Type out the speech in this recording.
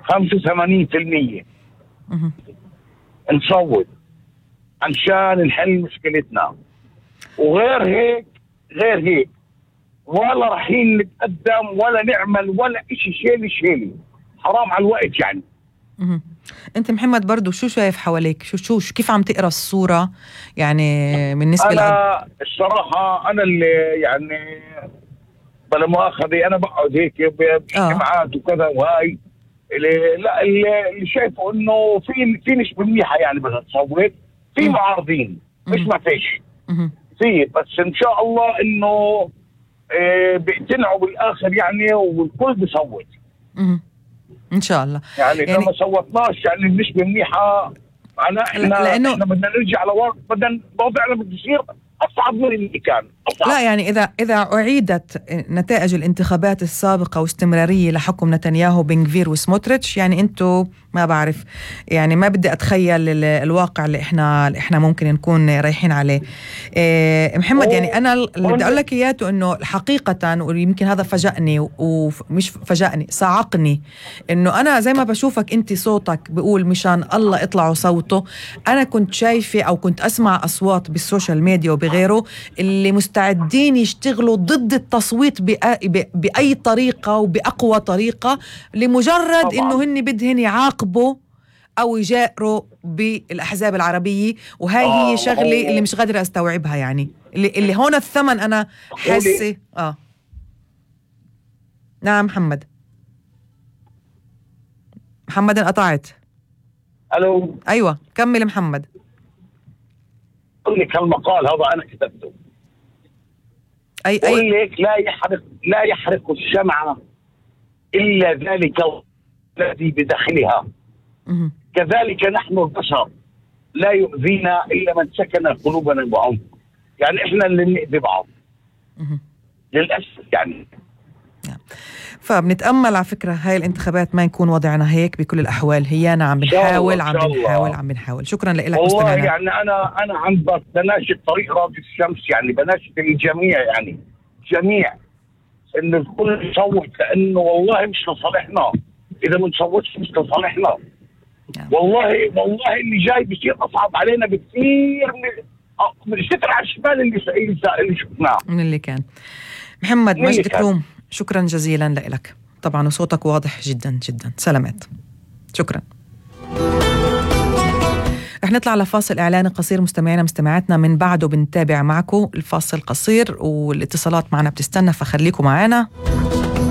85% نصوت عشان نحل مشكلتنا، وغير هيك ولا رايحين نتقدم ولا نعمل ولا إشي. شيلي حرام على الوقت يعني. انت محمد برضو شو شايف حواليك؟ شو كيف عم تقرا الصورة يعني بالنسبة أنا الصراحة أنا اللي يعني بلا مؤاخذة أنا بقعد هيك باجتماعات وكذا وهاي اللي شايفه إنه في نسبة منيحة يعني بدها تصوت، في معارضين مش ما فيش في، بس إن شاء الله إنه بيقتنعوا بالآخر يعني والكل بيصوت إن شاء الله. يعني إذا ما صوتناش يعني النسبة منيحة معنا إحنا بدنا نرجع لورا، بدنا وضعنا بده يصير أصعب من اللي كان أصعب. لا يعني إذا أعيدت نتائج الانتخابات السابقة واستمرارية لحكم نتنياهو بن غفير وسموتريتش يعني أنتوا ما بعرف يعني ما بدي أتخيل الواقع اللي إحنا ممكن نكون رايحين عليه. محمد يعني أنا اللي بدي أقول لك إياته إنه حقيقة ويمكن هذا فاجأني ومش فاجأني صعقني، إنه أنا زي ما بشوفك أنت صوتك بقول مشان الله اطلعوا صوته، أنا كنت شايفة أو كنت أسمع أصوات بالسوشيال ميديا وبغيره اللي مستعدين يشتغلوا ضد التصويت بأي طريقة وبأقوى طريقة لمجرد إنه هن بدهن يعاقبوا أو يجاروا بالأحزاب العربية. وهاي هي شغلة اللي مش قادرة أستوعبها يعني اللي هون الثمن أنا حاسة. نعم محمد انقطعت. ألو أيوة كمل محمد. أقول لك هالمقال هذا أنا كتبته. أقول لك لا يحرق الشمعة إلا ذلك الذي بداخلها. كذلك نحن البشر لا يؤذينا إلا من سكن قلوبنا بعمق. يعني إحنا اللي نؤذي بعض للأسف يعني. فبنتأمل على فكرة هاي الانتخابات ما يكون وضعنا هيك بكل الأحوال. هيانا عم بنحاول. شكرا لك والله يعني أنا عم بناشد طريق راضي الشمس، يعني بناشد الجميع يعني جميع إن الكل يصوت، لأنه والله مش لصالحنا. إذا ما نصوتش مش لصالحنا. والله اللي جاي بيصير أصعب علينا بكثير من الستر على الشمال اللي شفناه من اللي كان. محمد مجد كروم شكرا جزيلا لك طبعا، وصوتك واضح جدا جدا. سلامات. شكرا. رح نطلع لفاصل إعلاني قصير مستمعينا مستمعاتنا، من بعده بنتابع معكم الفاصل قصير والاتصالات معنا بتستنى، فخليكم معنا.